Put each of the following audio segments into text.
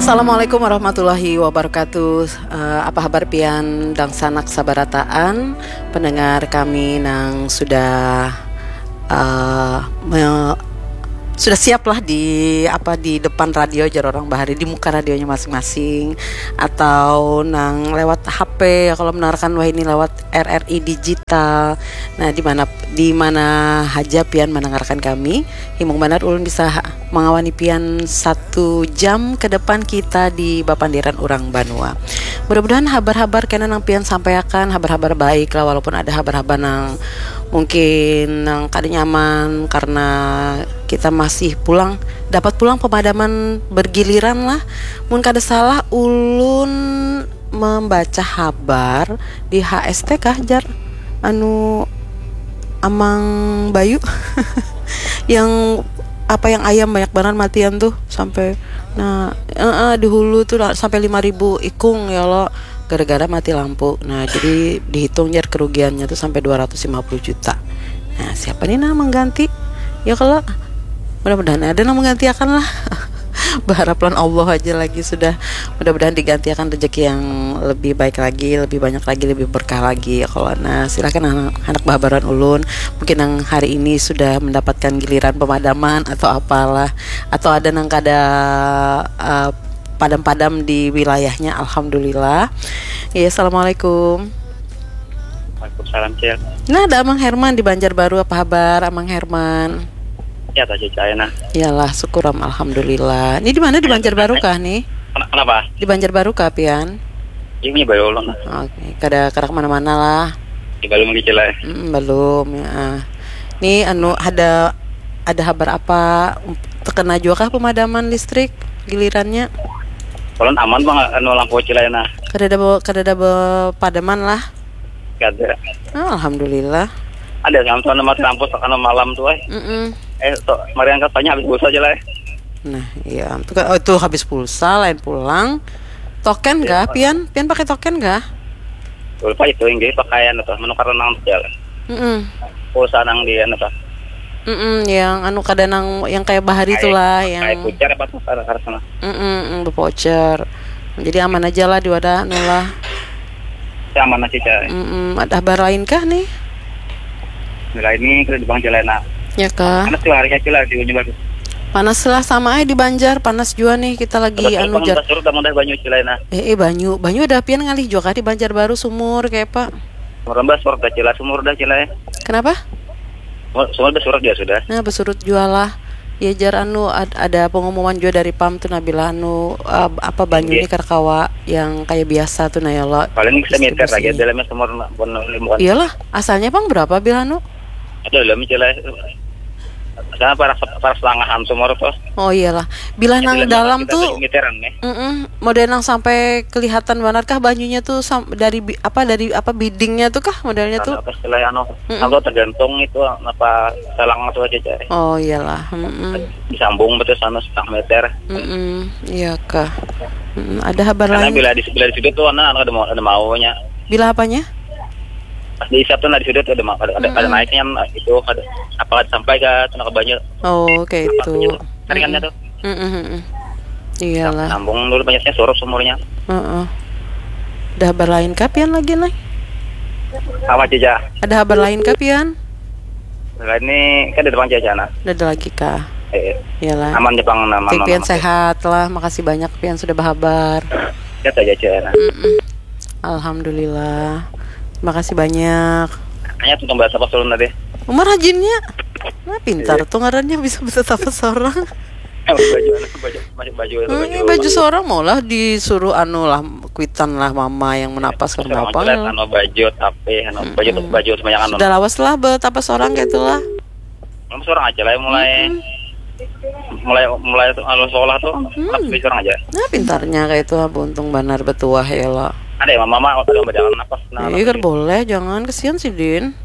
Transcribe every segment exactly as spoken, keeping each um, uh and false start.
Assalamualaikum warahmatullahi wabarakatuh. Eh, apa habar pian dangsanak sabarataan, pendengar kami nang sudah, eh, me- sudah siap lah di apa, di depan radio jar orang bahari, di muka radionya masing-masing, atau nang lewat H P ya, kalau mendengarkan wahini lewat R R I digital. Nah, di mana, di mana haja pian mendengarkan kami, himung banar ulun bisa ha- mengawani pian satu jam ke depan kita di bapandiran urang banua. Mudah-mudahan habar-habar kena nang pian sampaiakan habar-habar baik lah, walaupun ada habar-habar nang mungkin nang kada nyaman karena kita masih pulang, dapat pulang pemadaman bergiliran lah. Mun kada salah, ulun membaca habar di H S T kah, jar, anu, Amang Bayu yang apa, yang ayam banyak banget matian tuh, sampai, nah, eh, eh, di hulu tuh lah, sampai lima ribu ikung ya lo, gara-gara mati lampu. Nah, jadi dihitung jar kerugiannya tuh sampai dua ratus lima puluh juta. Nah, siapa nih nah mengganti? Ya kalau, mudah-mudahan ada nang menggantiakan lah. Berharap lawan Allah aja lagi sudah. Mudah-mudahan digantiakan rezeki yang lebih baik lagi, lebih banyak lagi, lebih berkah lagi ya kalau. Nah, silahkan anak, anak babaran ulun. Mungkin yang hari ini sudah mendapatkan giliran pemadaman atau apalah, atau ada nang kada, eh, padam-padam di wilayahnya. Alhamdulillah. Ya, assalamualaikum. Waalaikumsalam, Cil. Nah, ada Amang Herman di Banjarbaru. Apa habar, Amang Herman? Ya, tak cicai nah. Iyalah, syukur am, alhamdulillah. Ini di mana, di Banjarbaru kah nih? Kena- Kenapa? Di Banjarbaru kah pian? Ini baru ulun lah. Oke, kada kada kemana-mana lah. Ini baru lagi, Cil, ya. Mm, belum ya. Ah. Nih anu, ada ada habar apa, terkena juga kah pemadaman listrik gilirannya? Ulun aman, Bang, anu lampu, Cil, ya nah. Kada ada be- kada ada be- padaman lah. Kada. Ah, alhamdulillah. Ada sama tuan mati lampu sakana malam tuh, eh. Mm-mm. Eh, so, mari angkat tanya habis pulsa aja lah, eh. Nah, iya, itu kan, oh, itu habis pulsa, lain pulang. Token gak, pian? Pian pakai token gak? Lupa itu, inggih, pakaian atau menukar nang jalan. Mm-mm. Pulsa nang di anu tuh. Mm-mm, yang anu, kada nang yang kayak bahari tuh lah, yang Kayak voucher apa tuh, karena karena sana. Mm-mm, mm, voucher. Jadi aman aja lah di wadah anu lah. Ya, aman aja, Cil. Mm-mm, ada habar lain kah nih? Nah, ini kita di Bang Jelena. Ya kah? Karena tuh harinya, Cil, di Unyu bagus. Panas lah sama aja di Banjar, panas juga nih kita lagi anu, jar. Surut, kamu udah banyu, Cil, nah. Eh, eh, banyu, banyu ada pian ngalih juga kah di Banjarbaru, sumur kayak apa? Merembah surut dah, Cil, sumur dah, Cil, ya. Kenapa? Sumur, sumur dah surut dia sudah. Nah, besurut juga lah. Ya, jar anu, ad- ada pengumuman juga dari pam tuh, Nabila, anu, eh, apa, banyu Inggih. Ini karkawa yang kayak biasa tuh, nah ya Allah. Paling bisa meter lagi Distribusinya. Dalamnya sumur, bukan, bukan. Iyalah, asalnya pang berapa, Bil, anu? Ada dalam, Cil, ya. Karena para para selangahan sumur tuh. Oh iyalah, bila nang dalam tuh, Meteran nih. Mm-mm, model nang sampai kelihatan banget kah banyunya tuh, sam- dari bi- apa, dari apa, bidingnya tuh kah modelnya tuh? Apa istilah anu? Atau tergantung itu apa selang atau aja, Cil. Oh iyalah, mm-mm, Disambung betul sana setengah meter. Mm-mm, iya kah. Mm-mm, ada habar Karena lain. Bila di bila di situ tuh anak ada mau ada maunya. Bila apanya? Pas diisap tuh, nah, di situ tuh ada mau ada, ada, ada naiknya, nah, itu ada apa, ada sampai ke tuh ke banyu. Oh, kayak itu. Ringannya tuh. Mm-mm, mm-mm. Iyalah. Sambung dulu, banyaknya surut sumurnya. Heeh. Ada habar lain kah pian lagi, Nay? Apa, Cica? Ada habar lain kah pian? Nah, ini kan di depan Cica, nah. Ada lagi kah? Eh, Iyalah. Aman, Jepang, aman. Penting Aman, pian aman. Sehat lah. Makasih banyak pian sudah berhabar. Sehat aja, Cica, nah. Mm-mm. Alhamdulillah. Makasih banyak. Hanya tuh bahasa pas ulun tadi. Umar hajinnya. Nah, pintar tuh ngarannya, bisa bisa tapas orang. Baju, baju, baju, baju, Hmm, ini baju seorang mau lah disuruh anu lah, kuitan lah mama yang menapas karena Seorang apa jelas, lah. Anu, baju tapi anu, baju baju sebanyak anu. Sudah lawas lah betapa seorang kayak itulah. Belum seorang aja lah yang mulai mulai mulai tuh anu sekolah tuh tapi seorang aja. Nah, pintarnya kayak itu, beruntung banar betuah ya lo. Ada ya mama, mama udah berjalan napas, nah. Iya kan boleh, jangan, kesian sih, Din.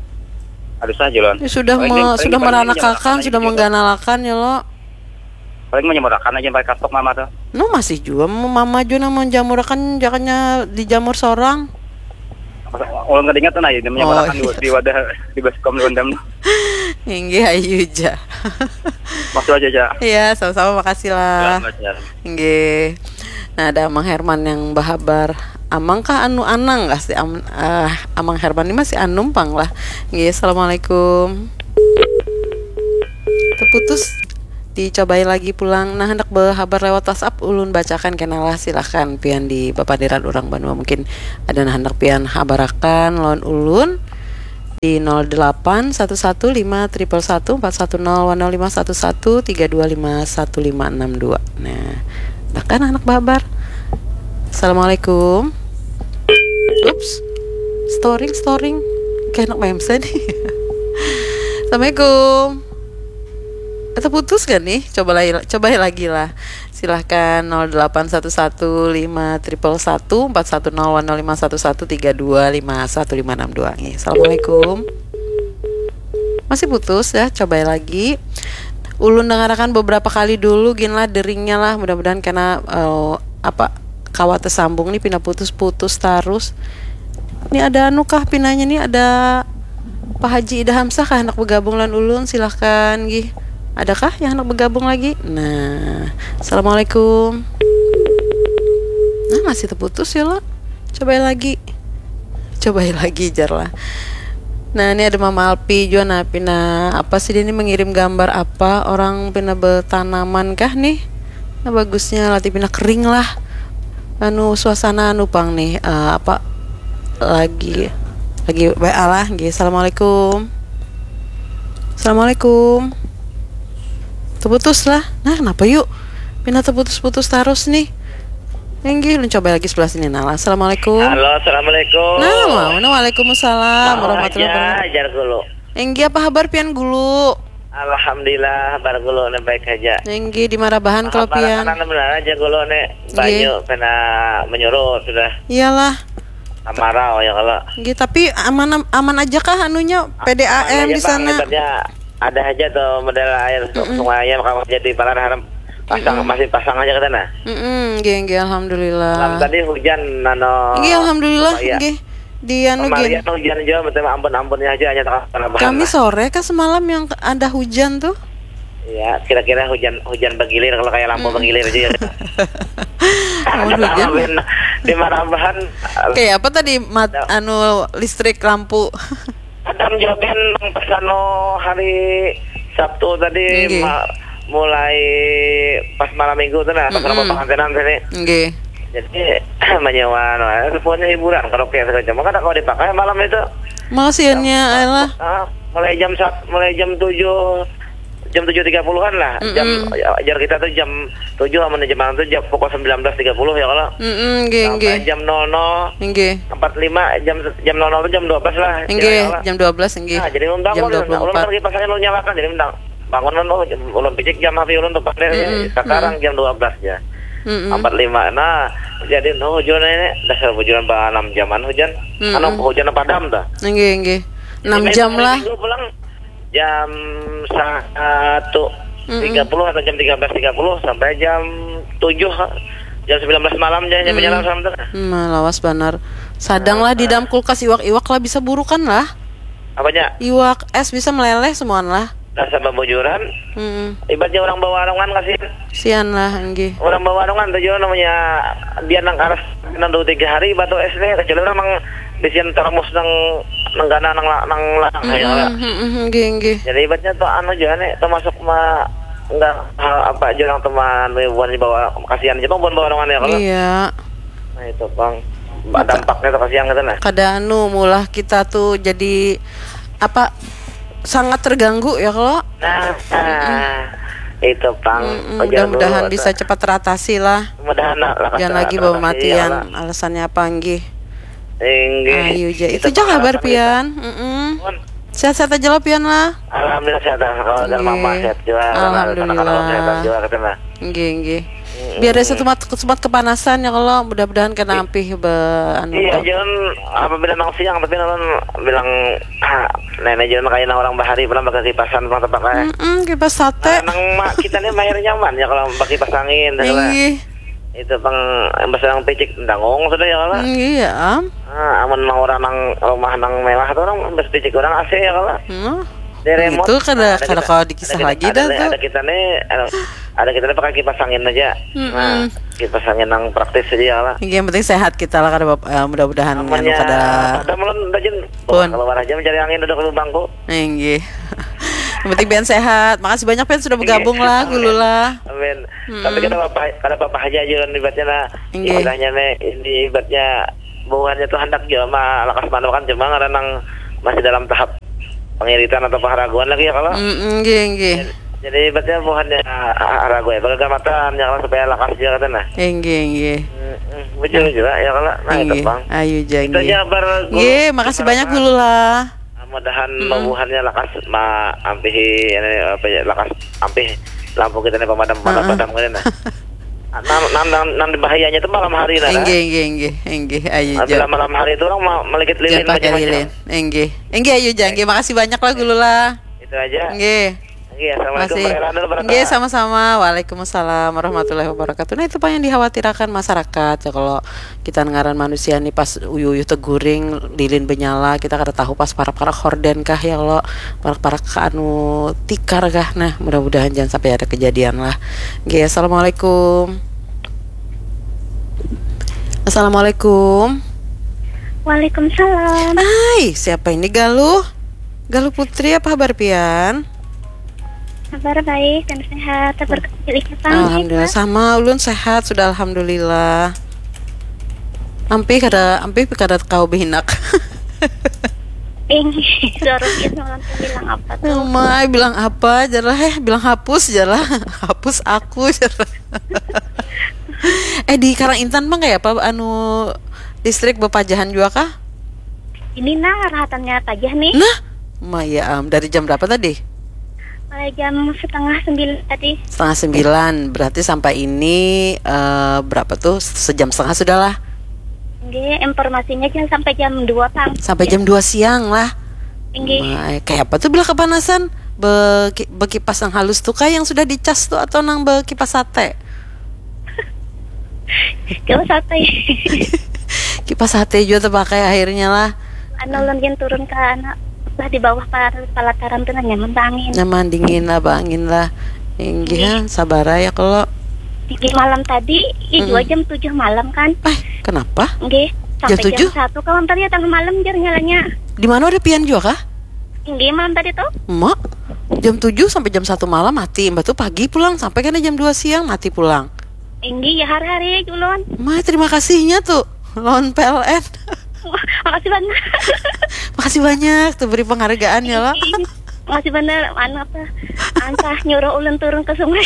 Aduh, sah jalan. Ya, sudah me- sudah meranakakan, sudah mengganalakan ya lo. Paling menjemurakan aja pakai kastok mama tuh. No, masih juga mama juga nang menjamurakan, jakanya dijamur seorang. Ulun kada ingat tuh, nah, ini menjemurakan Oh, iya. Di wadah di baskom di Gondam. Inggih, ayu ja. Makasih aja, Ca. Iya, sama-sama, makasih lah. Selamat, ya. Inggih. Nah, ada Amang Herman yang bahabar. Amang kah anu Anang kah si am, ah, Amang Herman ini masih anum pang lah. Nggih, assalamualaikum. Terputus. Dicobai lagi pulang. Nah, hendak berhabar lewat WhatsApp, ulun bacakan kena lah. Silahkan pian di papandiran urang banua. Mungkin ada nah hendak pian habarakan lawan ulun di nol delapan satu satu lima triple satu empat satu nol wan nol lima satu satu tiga dua lima satu lima enam dua. Nah, bahkan anak babar. Assalamualaikum. Ups. Storing, storing. Kayak anak memsen. Assalamualaikum. Atau putus gak nih? Coba lagi, coba lagi lah. Silahkan nol delapan satu satu lima triple satu empat satu nol wan nol lima satu satu tiga dua lima satu lima enam dua. Nggih, assalamualaikum. Masih putus ya, coba lagi. Ulun dengarakan beberapa kali dulu gin lah deringnya lah, mudah-mudahan kena eh, apa kawa tersambung nih, pina putus-putus tarus. Ini ada anu kah pinanya nih, ada Pak Haji Ida Hamsah kah hendak bergabung lawan ulun, silahkan gih. Adakah yang hendak bergabung lagi? Nah, assalamualaikum. Nah, masih terputus ya lo. Coba lagi. Coba lagi jar lah. Nah, ini ada Mama Alpi juga, nah, pina apa sih dia ini mengirim gambar apa orang pina bertanaman kah nih? Nah, bagusnya latih pina kering lah. Anu suasana anu pang nih eh, apa lagi lagi W A lah nggih. Assalamualaikum. Assalamualaikum. Terputus lah. Nah, kenapa yuk? Pina terputus-putus terus nih. Enggih, lu coba lagi sebelah sini nah. Assalamualaikum. Halo, assalamualaikum. Nah, mau nah, waalaikumsalam warahmatullahi wabarakatuh. Ajar gulu. Enggih, apa kabar pian gulu? Alhamdulillah, kabar gulu nih baik aja. Enggih, di marabahan kalau pian. Kabar anak benar aja gulu nih. Banyu kena menyuruh sudah. Iyalah. Amarau ya kalau. Enggih, tapi aman aman aja kah anunya P D A M di sana? Ada aja tuh model air sungainya kalau jadi palar harap pasang masih pasang aja ke sana. Mm-mm, nggih nggih alhamdulillah. Malam tadi hujan nano. Nggih alhamdulillah nggih. Di anu gin. Hujan juga betul ampun-ampunnya aja hanya tengah. Kami sore kah semalam yang ada hujan tuh? Ya, kira-kira hujan hujan bergilir kalau kayak lampu bergilir aja ya. Hujan. Di Marambahan. Kayak apa tadi mat, anu listrik lampu? Padam jua kan nang pas anu hari Sabtu tadi ma- mulai pas malam minggu tu nah pas rumah pengantinan sini. Nggih. Jadi menyewa no, semuanya hiburan karaoke segala macam. Kada kau dipakai malam itu. Malah siannya lah. Ah, mulai jam sat, mulai jam tujuh jam tujuh tiga puluhan lah. Jam ajar kita tuh jam tujuh amun jam malam tuh jam pukul sembilan belas tiga puluh ya kalau. Mm-mm, nggih, sampai nggih. Jam nol nol. Nggih. Empat lima jam jam nol nol tuh jam dua belas lah. Nggih, jam dua belas nggih. Nah, jadi ulun bangun, ulun kan kipas angin ulun nyalakan jadi ulun bangun kan oh ulun picik jam H P ulun tuh pas sekarang jam dua belas ya. Empat lima. Nah, jadi no hujan ini dasar hujan ba enam jaman hujan. Anu hujan padam dah. Nggih, nggih. Enam jam lah. Minggu pulang jam satu tiga puluh atau jam tiga belas tiga puluh sampai jam tujuh jam sembilan belas malam jam jam jalan sama tuh. Hmm, lawas banar. Sadang lah di dalam kulkas iwak-iwak lah bisa burukan lah. Apanya? Iwak es bisa meleleh semuaan lah. Dasar babujuran. Mm-mm. Ibaratnya orang bawarungan kasihan. Sian lah, enggih. Orang bawarungan tuh juga namanya dia nang karas nang dua tiga hari batu es nih kecuali orang mang bisian termos nang nang gana nang la- nang larang ya lah. Mm-mm, mm-mm, enggih, enggih. Jadi ibaratnya tuh anu juga nih termasuk ma enggak hal apa aja orang teman bukan bawa kasihan aja bukan bawa orang ya kalau. Iya. Nah itu bang. Dampaknya tuh kasihan gitu nah. Kada anu mulah kita tuh jadi apa sangat terganggu ya kalau. Nah, nah itu pang. Mm-mm, mudah-mudahan bisa cepat teratasi lah. Mudahan lah. Jangan lagi bawa matian. Alasannya apa nggih? Inggih. Ayo ja. Itu ja kabar pian. Mm-mm. Sehat-sehat aja lah pian lah. Alhamdulillah sehat. Kalau dan mama sehat juga. Alhamdulillah. Sehat juga katanya. Nggih, nggih. Biar rasa tumat tumat kepanasan ya kalau mudah-mudahan kena ampih be anu. Iya, jangan apabila nang siang tapi nang bilang ah, nenek jangan kayak orang bahari pernah pakai kipasan pernah terpakai. Mm-mm, kipas sate. Nah, nang mak kita nih mayar nyaman ya kalau pakai kipas angin. Nggih. Itu pang bahasa yang picik dangong sudah ya kalau. Nggih ya am. Ah, aman nang orang nang rumah nang mewah tuh orang bahasa picik orang A C ya kalau. Hmm. Dari remote. Itu kada Ada kada kita- kalau dikisah ada kita- lagi ada dah nih, tuh. Ada kita nih, ada, ada kita nih pakai kipas angin aja. Mm-mm. Nah, kipas angin yang praktis aja lah. Yang penting sehat kita lah, kada bap- eh, mudah-mudahan anu Namanya kada ada malam rajin Pun. Keluar aja mencari angin duduk di bangku. Inggih. Yang penting pian sehat. Makasih banyak pian sudah bergabung lah, Amin. Gulu lah. Amin. Mm-mm. Tapi kada apa kada apa aja aja kan ibaratnya nah. Inggih. Istilahnya nih ini ibaratnya buhannya tuh hendak juga mah lakas manukan cuma karena nang masih dalam tahap pengiritan atau pengeraguan lagi ya kalau. Mm, inggih, inggih. Jadi ibaratnya buhannya ah, ragu ya, bagagamatan ya kalau supaya lakas juga kata nah. Inggih, inggih. Mm-mm. Bujur juga ya kalau nah itu Inggih. bang. Ayu Itu janji. aja bar Nggih, makasih banyak Gulu lah. Mudahan Mm-mm. bubuhannya lakas ma ampihi ini apa ya lakas ampih lampu kita nih pemadam pemadam Heeh. padam gini nah. Nang nang nang, nang bahayanya itu malam hari nah. Inggih, inggih, inggih, inggih. Ayu Bila janji. Malam hari itu orang ma- melikit lilin Jangan pakai macam-macam. Lilin. Inggih. Inggih, ayu janji. Makasih banyak lah Gulu lah. Itu aja. Inggih. Iya, assalamualaikum. Masih. Warahmatullahi wabarakatuh. Nggih, sama-sama. Waalaikumsalam warahmatullahi wabarakatuh. Nah, itu Pak yang dikhawatirkan masyarakat ya, kalau kita ngaran manusia nih pas uyuh-uyuh teguring, lilin benyala, kita kada tahu pas parak-parak horden kah ya, kalau parak-parak anu tikar kah. Nah, mudah-mudahan jangan sampai ada kejadian lah. Nggih, assalamualaikum. Assalamualaikum. Waalaikumsalam. Hai, siapa ini, Galuh? Galuh Putri, apa kabar pian? Kabar baik dan sehat. Kabar pilih Alhamdulillah, sama ulun sehat sudah, alhamdulillah. Ampih kada, ampih kada kau behinak. Ing, suara dia semalam tuh bilang apa tuh? Mai bilang apa jar lah, eh, bilang hapus jar lah. Hapus aku jar lah. Eh, di Karang Intan bang kayak apa anu listrik bepajahan juga kah? Ini nah rahatannya pajah nih. Nah, Maya am, dari jam berapa tadi? Mulai jam setengah sembilan tadi. Setengah sembilan, berarti sampai ini eh, berapa tuh? Sejam setengah sudah lah. Nggih, informasinya jangan sampai jam dua pang. Sampai jam dua siang lah. Nggih. Mai, kayak apa tuh bila kepanasan? Beki- bekipas yang halus tuh kah yang sudah dicas tuh atau nang bekipas sate? Kipas sate. Kipas sate juga terpakai akhirnya lah. Anu ulun gin turun ke anak lah di bawah pa- pelataran tuh nah nyaman bang angin. Nyaman dingin lah, bang, angin lah. Inggih, sabar ya kalau. Di malam tadi, ih, Mm-mm. dua jam tujuh malam kan. Eh, kenapa? Nggih, Jam sampai tujuh? Jam satu kawan tadi datang malam jar nyalanya. Di mana ada pian juga kah? Nggih, malam tadi tuh. Mak, jam tujuh sampai jam satu malam mati. Mbak tuh pagi pulang sampai kena jam dua siang mati pulang. Nggih, ya hari-hari ulun. Mai, terima kasihnya tuh lawan P L N. Makasih banyak. Makasih banyak tuh beri penghargaan ya lah. Makasih bener, anu apa? Antah nyuruh ulun turun ke sungai.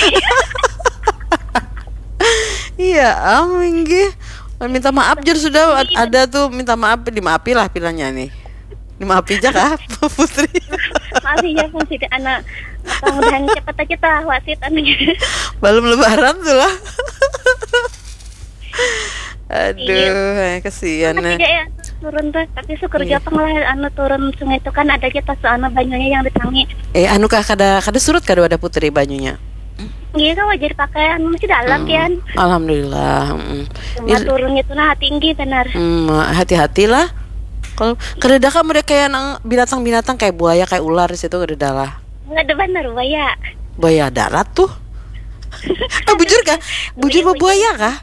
Iya, am, inggih. Minta maaf jar sudah, ada tuh minta maaf, dimaafi lah pilanya nih. Dimaafi aja kah, Putri? Maaf ya, Pang, sih anak apa mudahan cepet aja tah wasit anunya. Belum lebaran tuh lah. Aduh, eh, kesian Tapi nih. dia ya turun tuh, tapi syukur Iya. Japang lah anu turun sungai itu kan ada aja tas anu banyunya yang ditangi. Eh, anu kah kada kada surut kada wadah Putri banyunya? Iya kan wajar pakai anu masih dalam Hmm, kan. Alhamdulillah. Mm. Cuma turunnya tuh nah tinggi benar. Hmm, hati-hatilah. Kalau kada ada kamu ada kayak nang binatang-binatang kayak buaya, kayak ular di situ kada ada lah. Nggak ada benar buaya. Buaya darat tuh. Eh, bujur kah? Bujur Iya, buaya kah?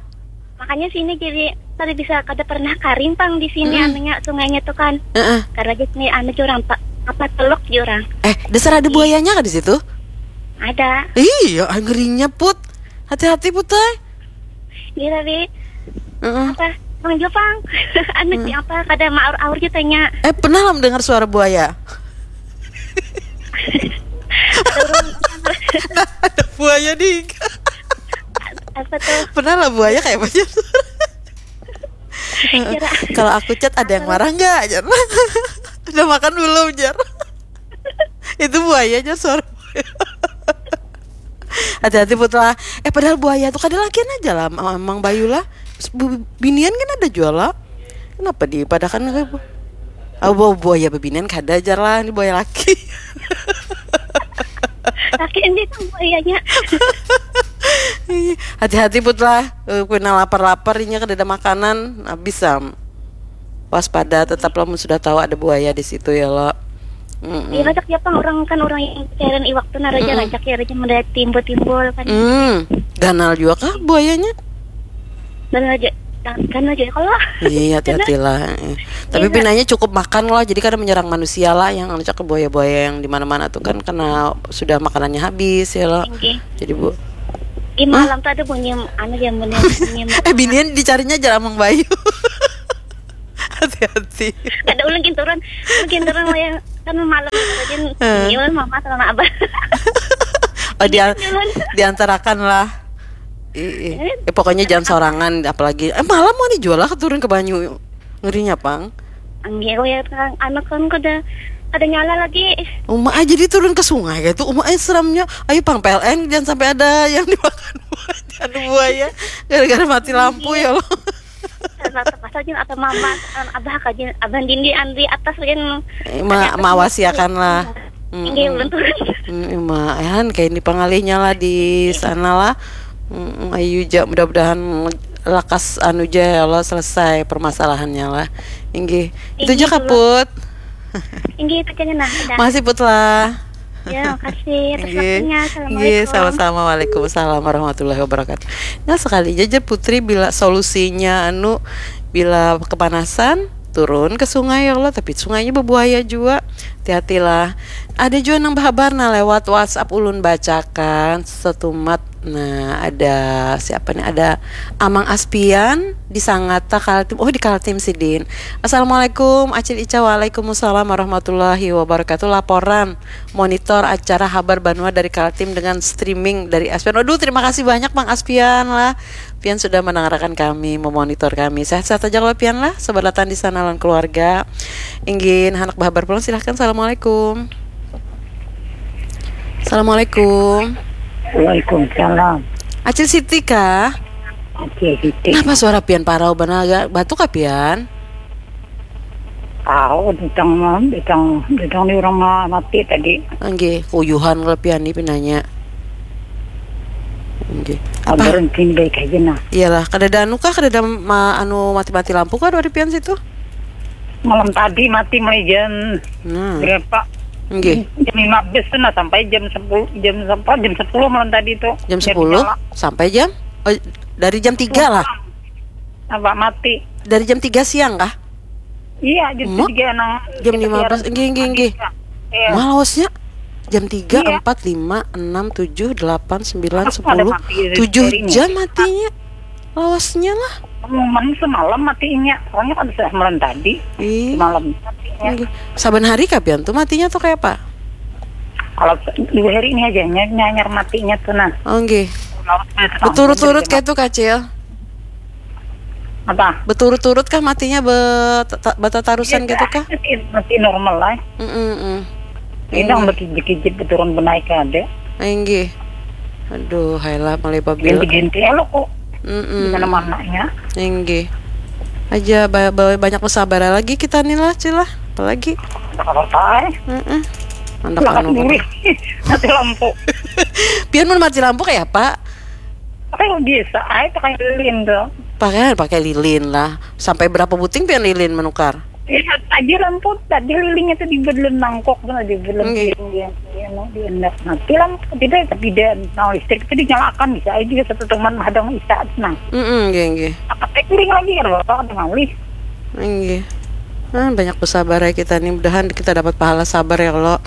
Makanya sini jadi tadi bisa kada pernah karing pang di sini Mm-mm. anunya sungainya tuh kan. Heeh. Karena di sini anu jurang pak apa teluk jurang. Eh, dasar ada buayanya kah di situ? Ada. Iya, ah, ngerinya, Put. Hati-hati, Put, ay. Iya tapi Heeh. apa Bang Jopang anu Hmm. apa kada maur-aur jutanya. Eh, pernah lah mendengar suara buaya? Ada buaya di Apa tuh? Pernah lah buaya kayak apa aja. Kalau aku chat ada yang marah nggak, jar. Udah makan belum, jar. Itu buaya aja suara buaya. Hati-hati, Putra. Eh, padahal buaya tuh kada lakian aja lah, Mang Bayu lah. Bu- Binian kan ada jual lah. Kenapa dipadakan ke bu? Oh, bu- buaya bebinian kada, jar lah, ini buaya laki. Laki ini kan buayanya. Hati-hati, Putra. Eh, kena lapar-lapar inya kada ada makanan, habis sam. Waspada tetap lamun sudah tahu ada buaya di situ ya lo. Iya, rancak ya pang, orang kan orang yang cairan iwak tuh nah, raja, rancak ya, raja, melihat timbul-timbul kan. Hmm, ganal juga kah buayanya? Ganal aja, ganal aja kalau. Iya, hati-hatilah. Tapi pinanya cukup makan lah, jadi kada menyerang manusia lah, yang rancak buaya-buaya yang di mana-mana tuh kan karena sudah makanannya habis ya lah. Jadi bu. Di malam tuh ada bunyi anu ya, bunyi, bunyi. Eh, binian dicarinya aja amang bayu. Hati-hati. Ada ulun gin turun, ulun gin turun yang kan malam aja. Iya, mama sama abah. Oh, dia diantarakan lah. Ih, eh, pokoknya jangan sorangan, apalagi eh, malam mau dijual lah turun ke banyu, ngerinya pang. Anggir ya kan, anak kan kada ada nyala lagi. Uma aja dia turun ke sungai gitu, uma aja seramnya. Ayo pang P L N, jangan sampai ada yang dimakan buaya, aduh, buaya, gara-gara mati lampu ya Allah. Terpaksa jin atau mama, abah kajin, abah dindi andri atas jin. Eh, ma mawasiakan lah. Inggih, ulun turun. Mm, ma, eh, han, kayak ini pengalihnya lah di sana lah. Mm, ayu ja, mudah-mudahan lakas anu ja ya Allah, selesai permasalahannya lah. Inggih. Itu aja kaput. Inggih, itu aja nah. Masih put lah. Ya, makasih atas Inggih. Waktunya. Inggih, Assalamualaikum. Sama-sama. Waalaikumsalam warahmatullahi wabarakatuh. Nah, sekali aja Putri bila solusinya anu, bila kepanasan turun ke sungai ya Allah, tapi sungainya berbuaya juga. Hati-hatilah. Ada juga nang berhabar nah lewat WhatsApp, ulun bacakan setumat. Nah, ada siapa nih? Ada Amang Aspian di Sangata, Kaltim. Oh, di Kaltim sidin. Assalamualaikum Acil Ica. Waalaikumsalam warahmatullahi wabarakatuh. Laporan monitor acara Habar Banua dari Kaltim dengan streaming dari Aspian. Aduh, terima kasih banyak Mang Aspian lah. Pian sudah mendengarkan kami, memonitor kami. Sehat-sehat aja kalau Pian lah. Sobat Latan di sana lawan keluarga. Inggih, anak berhabar pulang, silahkan. Assalamualaikum. Assalamualaikum. Waalaikumsalam. Acil Siti kah? Oke, Siti. Kenapa suara Pian parau benar? Batuk kah Pian? Tahu tentang tentang tentang ni orang ma- mati tadi. Nggih, kuyuhan kalau Pian ni pinanya. Nggih. Apa? Kabar sini baik aja nah. Iyalah, kada ada anu kah, kada ada ma- anu mati-mati lampu kah dari Pian situ? Malam tadi mati mulai jam Nah, berapa? nggih. Jam lima belas tuh nah, sampai jam sepuluh, jam sampai jam sepuluh malam tadi tuh. Jam Jadi sepuluh nyala. Sampai jam, oh, dari jam tiga lah. Apa mati? Dari jam tiga siang kah? Iya, jam Mak? tiga nang Jam lima belas, nggih, nggih, nggih. Iya. Malosnya jam tiga, Iya. empat, lima, enam, tujuh, delapan, sembilan, Masa ada sepuluh, mati dari tujuh ini? Jam matinya. Lawasnya lah. Pengumuman semalam matinya. Soalnya kan sudah malam tadi. Ih. Semalam matinya. Nggih. Saban hari kah Pian tuh matinya tuh kayak apa? Kalau dua hari ini aja ny- nyanyar matinya tuh nah. Oh, nggih. Kalau sudah Berturut-turut terang, kayak tuh Kacil. Apa? Berturut-turut kah matinya, bet- ta- batatarusan gitu kah? Masih, masih normal lah. Mm-mm-mm. Ini yang berkijit-kijit berturun benaik ada. Inggih. Aduh, hailah mulai babil. Ganti-ganti elok kok. Mm-mm. Di mana-mananya. Inggih. Aja ba- ba- banyak bersabar lagi kita nih lah, Cil lah. Apalagi. Apa-apa eh. Heeh. Mandak Lakas anu. Duri. Mati lampu. Pian mun mati lampu kayak apa? Pakai biasa aja pakai lilin tuh. Pakai pakai lilin lah. Sampai berapa buting pian lilin menukar? Lihat aja lampu tadi lilinnya tuh di belum mangkok tuh di belum Nggih. Dia dia mau diendak mati lampu tidak tapi dia mau listrik itu dinyalakan bisa aja juga satu teman hadang isa nah. Mm-mm, nggih, nggih. Apa teknik lagi ya bapak ada ngalih. Nggih. Ah, banyak bersabar ya kita nih. Mudahan kita dapat pahala sabar ya Allah.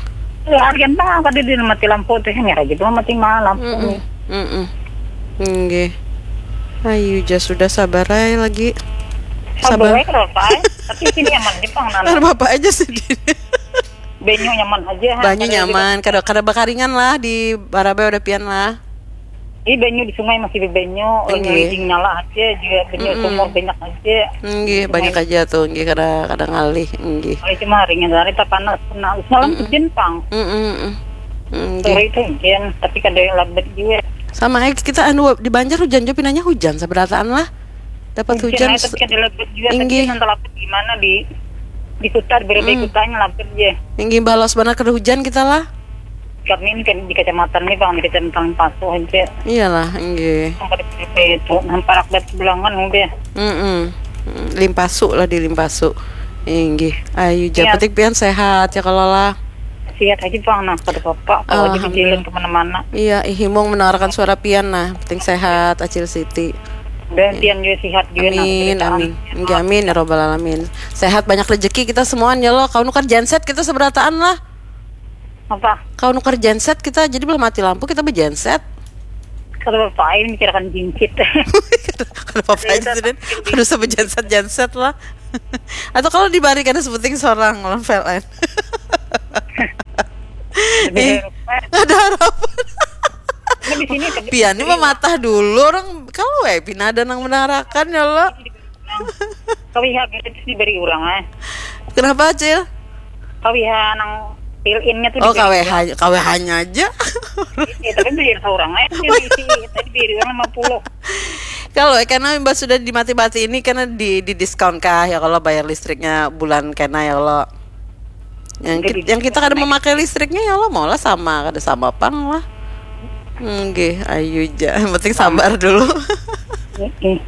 Ya, harian bang tadi dia mati lampu tuh ya aja tuh mati malam lampu Mm-mm. nih. Mm-mm. Nggih. Ayu ja sudah sabar aja lagi. Sabar Sabar. baik kalau pak. Tapi sini nyaman di pang Nah, nana. Bapak aja sedih. Banyu nyaman aja. Banyu Ada nyaman, kada kada bakaringan lah di Barabai udah pian lah. Ini banyu di sungai masih banyu, banyu Nggih. Ijing nyala aja juga, banyu Mm-mm. sumur banyak aja. Nggih, banyak aja tuh, nggih kada kada ngalih, nggih. Kalau cuma ringan hari tak panas, nah semalam hujan pang. Mm-mm. Mm, Sore nggih. Itu hujan, tapi kada yang lebat juga. Sama aja kita anu di Banjar hujan juga pinanya hujan seberataan lah. Dapat hujan, Aja, tapi kada lebat juga, Inggih. Tapi nanti lebat gimana di di kota, di berbagai Hmm. kotanya lebat aja. Nggih balas benar kada hujan kita lah. Kami ini kan di kecamatan ini bang, di kecamatan Paso aja. Iyalah, nggih. Sampai itu, sampai rakyat sebelangan udah. Mm-mm. Mm, Limpasu lah di Limpasu. Inggih. Ayu ja Iya. Penting pian sehat ya kalau lah. Sehat aja, Bang. Nah, kada apa-apa. Kalau aja Alhamdulillah. Dijalan kemana-mana. Iya, ih, himung mendengarkan suara pian nah. Penting sehat, Acil Siti. Dan pian juga sehat juga, nah, cerita. Amin. Nggih, amin ya robbal alamin. Sehat, banyak rezeki kita semuanya loh. Kau nukar genset kita seberataan lah. Apa? Kau nukar genset kita, jadi belum mati lampu kita bergenset. Kada apa-apa, ini mikirakan jinsit. Kenapa apa aja sih, Den? Aduh, sampai genset-genset lah. Atau kalau dibarikan sebuting seorang lawan P L N. Eh, ada harapan. Nah, di sini tapi Pian ini mematah dulu orang kalau eh pina ada nang menarakan ya lo. K W H itu diberi orang, eh. Kenapa, Cil? K W H nang fill in-nya tuh Oh, diberi K W H, K W H-nya aja. Eh, tapi beli seorang, eh. Dia isi, tadi beri orang lima puluh. Kalau eh, karena mbak sudah dimati-mati ini karena di di diskon kah ya kalau bayar listriknya bulan kena ya lo. Yang, Jadi kit- yang kita kada memakai listriknya ya lo maulah sama, kada sama pang lah. Nggih, ayu ja. Yang penting sabar dulu. Mm-mm.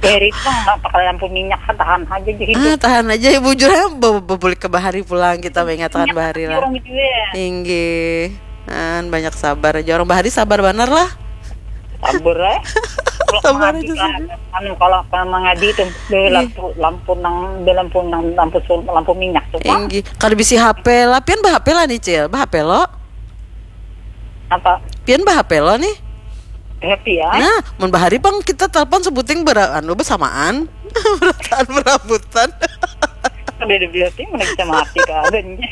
Dari itu, Bang, nggak pakai lampu minyak, tahan aja jadi hidup. Ah, tahan aja ya bujur ya be- bebulik ke bahari pulang kita mengingatkan bahari lah. Orang gitu ya. Inggih. An banyak sabar aja orang bahari sabar banar lah. Sabar, eh. Kalau Sabar mengadi aja, kan, anu, kalau kalau mengadi itu, di lampu lampu nang di lampu nang lampu sun- lampu minyak tuh, Bang. Inggih. Kada bisi H P lah. Pian bah H P lah nih, Cil. Bah H P lo. Apa? Pian bah H P lo nih. Happy ya? Nah, mun bahari pang kita telepon sebuting ber anu bersamaan. Berataan berabutan. Kada ada berarti mana bisa mati keadaannya.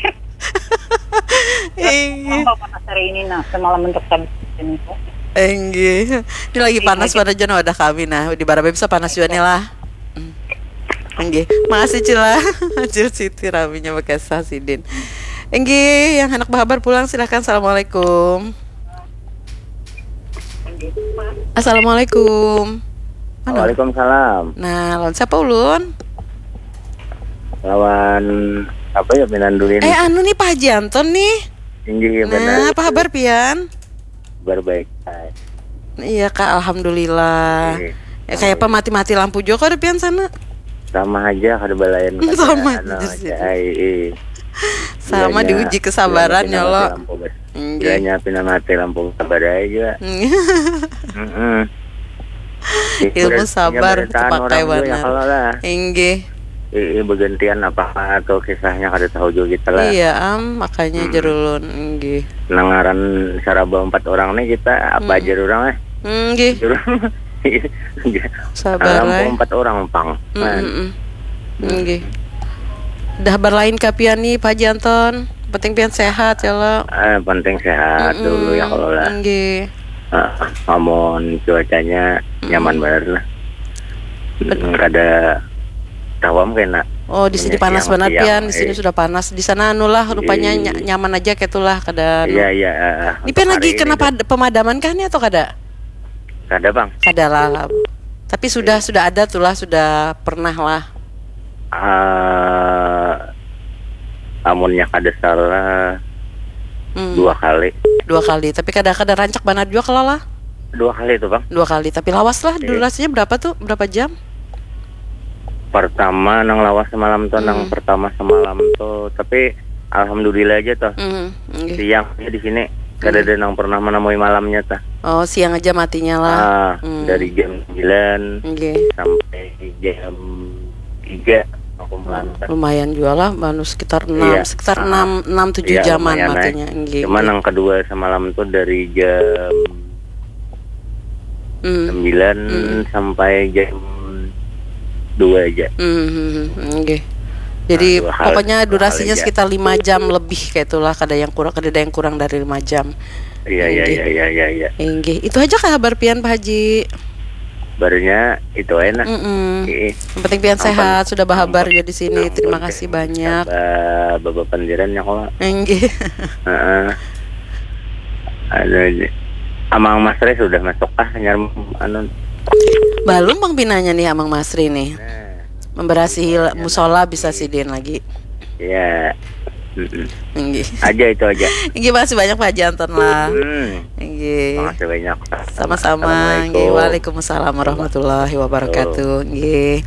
Inggih. Tambah panas hari ini, nah, semalam untuk sabit ini. Inggih. Ini lagi panas pada jan wadah kami nah. Di Barabai bisa panas juga nih lah. Hmm. Inggih. Makasih Cila. Cil Siti raminya bekesah sidin. Inggih, yang hendak bahabar pulang silahkan. Assalamualaikum. Assalamualaikum. Mana? Waalaikumsalam. Nah, lawan siapa ulun? Lawan apa ya, Pinandulin? Eh, anu nih Pak Haji Anton nih. Inggih, ya Nah, benar. apa kabar pian? Berbaik. Iya kak, alhamdulillah. Iya. Ya, kayak apa mati-mati lampu juga kok di pian sana? Sama aja kada balayan kada Sama anu aja sih. Ai, eh. Sama Bilanya- diuji kesabaran bilanya ya pina lo. mati lampu, bos. Inggih. Bilanya pina mati lampu sabar aja. Heeh. Ilmu sabar Baritaan terpakai orang tu ya, banar. Kalau lah. Inggih. Eh, eh, bergantian apa atau kisahnya kada tahu juga kita lah. Iya am, makanya Hmm. jerulun inggih. Nangaran saraba empat orang nih kita apa Hmm. aja orang eh. Inggih. Orang. Sabar Lampu lah. Empat orang pang. Mm, Nah, mm, mm. Inggih. Dah berlain ka pian nih Pak Haji Anton. Penting pian sehat ya lo. Eh, penting sehat dulu ya kalau lah. Inggih. Ah, amun cuacanya nyaman banget lah. Kada tahu am kena. Oh, di sini Punya panas siang, banget siang, pian. Di sini eh. sudah panas. Di sana anu lah rupanya Iya. ny- nyaman aja kayak itulah kada anu. Iya, iya, eh, Ini pian untuk lagi hari kena ini tuh. pad- pemadaman kah nih atau kada? Kada, Bang. Kada lah. Tapi sudah sudah ada tuh lah, sudah pernah lah. Ah, amunnya kada salah Hmm, dua kali. Dua kali. Tapi kada kada rancak banar juga kalau lah. Dua kali itu, Bang. Dua kali. Tapi lawas lah. Iya. Durasinya berapa tuh? Berapa jam? Pertama nang lawas semalam tuh, nang Hmm. pertama semalam tuh, tapi alhamdulillah aja tuh. Hmm, inggih. Siang aja di sini kada ada nang pernah menemui malamnya tuh. Oh, siang aja matinya lah. Ah, Hmm. Dari jam sembilan Inggih. sampai jam tiga aku melantar. Lumayan juga lah, baru sekitar enam, Iya. sekitar Ah. enam, enam tujuh Iya, jaman lumayan, matinya. eh. Inggih. Cuma yang kedua semalam tuh dari jam Hmm. sembilan Hmm. sampai jam dua aja. Hmm, hmm, hmm, inggih. Jadi Nah, dua kali, pokoknya dua kali durasinya aja. Sekitar lima jam lebih kayak itulah, kada yang kurang, kada ada yang kurang dari lima jam. Iya, iya, Inggih. Iya, iya, iya, iya. Inggih. Itu aja kah kabar pian Pak Haji? Barunya itu aja nah. Mm-mm. Iya. Yang penting pian Ampun. sehat, sudah bahabar Ampun. juga di sini. Ampun. Terima kasih banyak. Ba- Bapak Pandiran ya kok. Inggih. Heeh. Anu, Amang Masri sudah masuk kah nyar anu? Balum Bang pinanya nih Amang Masri nih. Nah, Memberasihi la- musola bisa sidin lagi. ya. Mm-mm. Inggih. Aja itu aja. Inggih, makasih banyak Pak Haji Anton lah. Hmm. Inggih. Makasih banyak. Sama-sama. Assalamualaikum. Inggih. Waalaikumsalam warahmatullahi wabarakatuh. Inggih.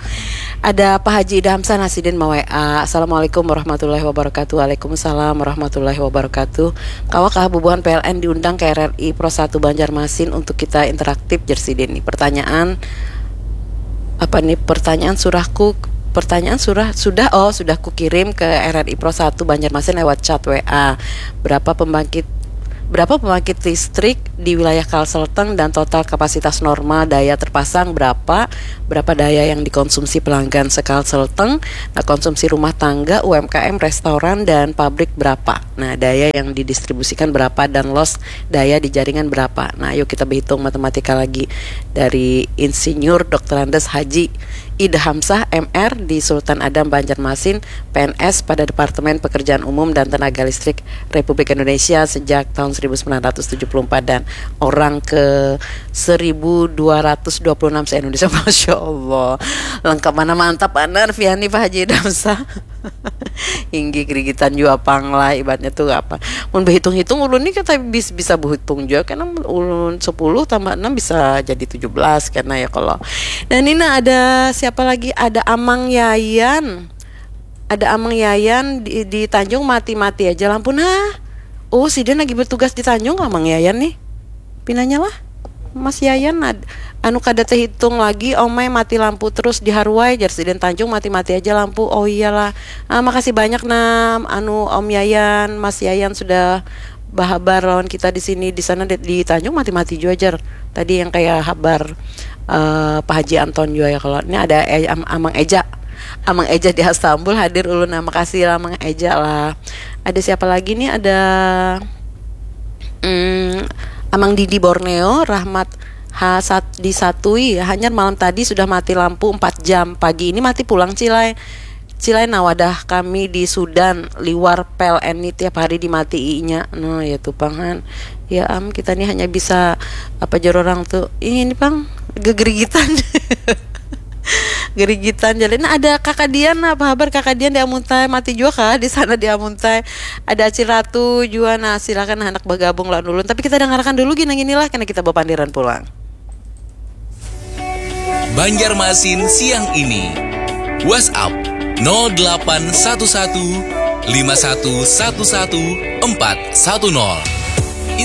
Ada Pak Haji Ida Hamzah nah sidin ma-W A. Assalamualaikum warahmatullahi wabarakatuh. Waalaikumsalam warahmatullahi wabarakatuh. Kawakah bubuhan P L N diundang ke R R I Pro satu Banjarmasin untuk kita interaktif, jer sidin nih. Pertanyaan apa nih? Pertanyaan surahku, pertanyaan surah sudah, oh, sudah kukirim ke R R I Pro satu Banjarmasin lewat chat W A. Berapa pembangkit berapa pembangkit listrik di wilayah Kalselteng dan total kapasitas normal daya terpasang berapa, berapa daya yang dikonsumsi pelanggan se-Kalselteng, nah, konsumsi rumah tangga, U M K M, restoran, dan pabrik berapa, nah, daya yang didistribusikan berapa, dan loss daya di jaringan berapa. Nah, ayo kita berhitung matematika lagi dari Insinyur Doktor Andes Haji Ida Hamzah M R di Sultan Adam Banjarmasin, P N S pada Departemen Pekerjaan Umum dan Tenaga Listrik Republik Indonesia sejak tahun seribu sembilan ratus tujuh puluh empat dan orang ke seribu dua ratus dua puluh enam se-Indonesia. Masya Allah. Lengkap mana mantap banar Fiani Pak Haji Ida Hamzah. Inggih gerigitan jua pang lah ibaratnya tuh apa. Mun berhitung-hitung ulun nih kata bis, bisa berhitung juga karena ulun sepuluh tambah enam bisa jadi tujuh belas karena ya kalau. Dan ini ada siapa lagi? Ada Amang Yayan. Ada Amang Yayan di, di Tanjung mati-mati aja lampu. Nah, oh, sidin lagi bertugas di Tanjung, Amang Yayan nih. Pinanya lah. Mas Yayan ad, anu kada terhitung lagi, omai mati lampu terus di Haruai, jar sidin Tanjung mati-mati aja lampu. Oh iyalah. Ah, makasih banyak nah, anu Om Yayan, Mas Yayan sudah bahabar lawan kita di sini. Di sana di, di Tanjung mati-mati juga, jar. Tadi yang kayak habar eh, Pak Haji Anton juga ya kalau. Ini ada eh, Am- Amang Eja. Amang Eja di Astambul hadir ulun. Nah, makasih lah Amang Eja lah. Ada siapa lagi nih? Ada mm, Amang Didi Borneo, Rahmat Hasad di Satui. Hanyar malam tadi sudah mati lampu empat jam. Pagi ini mati pulang, Cilai. Cilai, nah, wadah kami di Sudan, liwar P L N ni tiap hari dimatiinya. Nah, ya tuh pang han. Ya am, kita ni hanya bisa apa jar orang tuh. Ini pang gegerigitan. Gerigitan jadi. Nah, ada Kakak Dian, apa kabar Kakak Dian di Amuntai? Mati juga kah di sana di Amuntai? Ada Acil Ratu juga. Nah, silakan anak bergabung lawan ulun. Tapi kita dengarkan dulu gini inilah karena kita berpandiran pulang. Banjarmasin siang ini. WhatsApp nol delapan satu satu lima satu satu satu empat satu nol.